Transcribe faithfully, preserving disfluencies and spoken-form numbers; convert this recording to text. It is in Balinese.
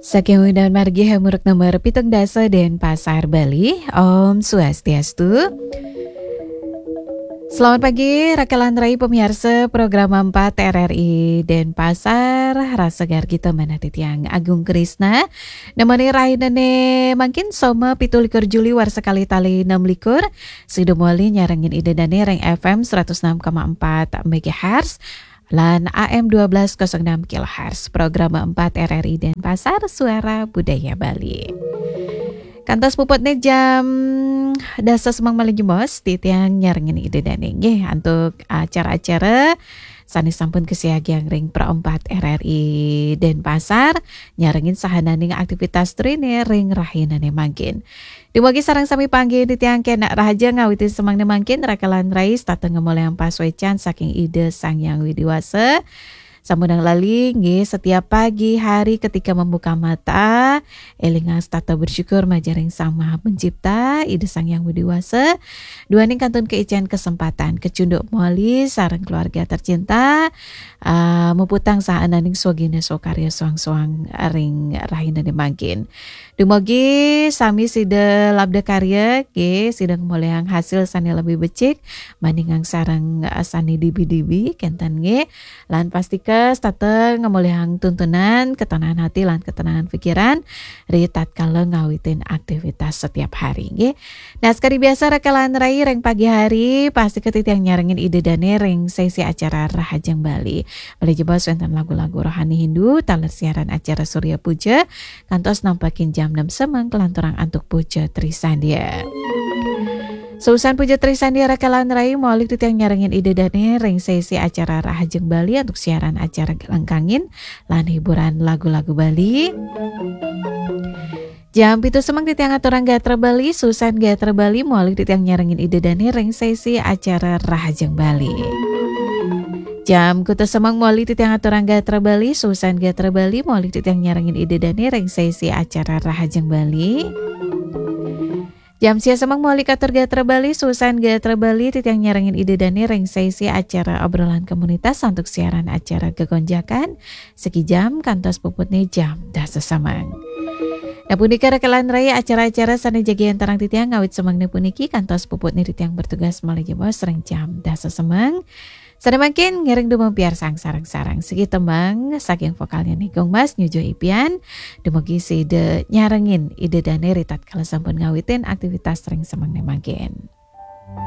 Saking Undan Margi Hamuruk nomor pitung dasa Denpasar, Bali. Om Swastiastu. Selamat pagi, rakalan rai pemirsa program empat R R I Denpasar. Rasa gargi teman hati tiang Agung Krisna. Nemani rahinane mangkin Soma pitu likur Juli warsa kali tali enam likur. Sida mawali nyarengin Ida Dane ring F M seratus enam koma empat megahertz lan A M dua belas kosong enam kilohertz. Program empat R R I Denpasar, Suara Budaya Bali. Kantos puputne jam dasa semeng malih jebos, titiang nyarengin Ida Dane nggih antuk acara-acara sane sampun kasiagiang ring Pro empat R R I Denpasar, nyarengin sahananing aktivitas trine ring rahinane mangkin. Dumugi sareng sami panggih titiang kenak rahaja ngawitin semengne mangkin, rakalan rai setata ngamolihang pasuecan saking Ida Sang Hyang Widi Wasa. Sampunang lali, nggih, setiap pagi hari ketika membuka mata, elingang setata bersyukur majaring Sang Maha Pencipta, Ida Sang Hyang Widi Wasa, duaning kantun kaican kesempatan kacunduk mawali sareng keluarga tercinta, ah, muputang sahananing swagina swakarya soang-soang ring rahinane mangkin. Dumugi sami sida labda karya, nggih, sida ngamolihang hasil sane lebih becik, bandingang sareng, ah, sane dibi-dibi, kenten nggih. Lan pastika setata ngamolihang tuntunan, ketenangan hati lan ketenangan pikiran, ri tatkala ngawitin aktivitas setiap hari, nggih. Nah, sekadi biasa rakalan rai ring pagi hari, pastika titiang nyarengin Ida Dane ring sesi acara Rahajeng Bali. Malih jebos wenten lagu-lagu rohani Hindu, taler siaran acara Surya Puja, kantos nampakin jam enam semeng kalanturang antuk Puja Trisandya. Seusan Puja Trisandya rakalan rai, mawali titiang nyarengin Ida Dane ring sesi acara Rahajeng Bali antuk siaran acara Gelengkangin lan hiburan lagu-lagu Bali. Jam pitu semeng titiang aturang gatra Bali, seusan gatra Bali, mawali titiang nyarengin Ida Dane ring sesi acara Rahajeng Bali. Jam kutus semeng mawali titiang aturang gatra Bali, seusan gatra Bali, mawali titiang nyarengin Ida Dane ring sesi acara Rahajeng Bali. Jam sia semeng mawali katur gatra Bali, seusan gatra Bali, titiang nyarengin Ida Dane ring sesi acara obrolan komunitas antuk siaran acara Gegonjakan, segi jam kantos puputne jam dasa semeng. Nah, punika rakalan rai acara-acara sane jagi antarang titiang ngawit semengne puniki kantos puputne titiang bertugas malih jebos ring jam dasa semeng. Sane mangkin ngiring dumun piarsang sareng-sareng siki tembang saking vokalnya Nigung Mas nyujuh ipian. Dumugi sida nyarengin Ida Dane ri tatkala sampun ngawitin aktivitas ring semengne mangkin.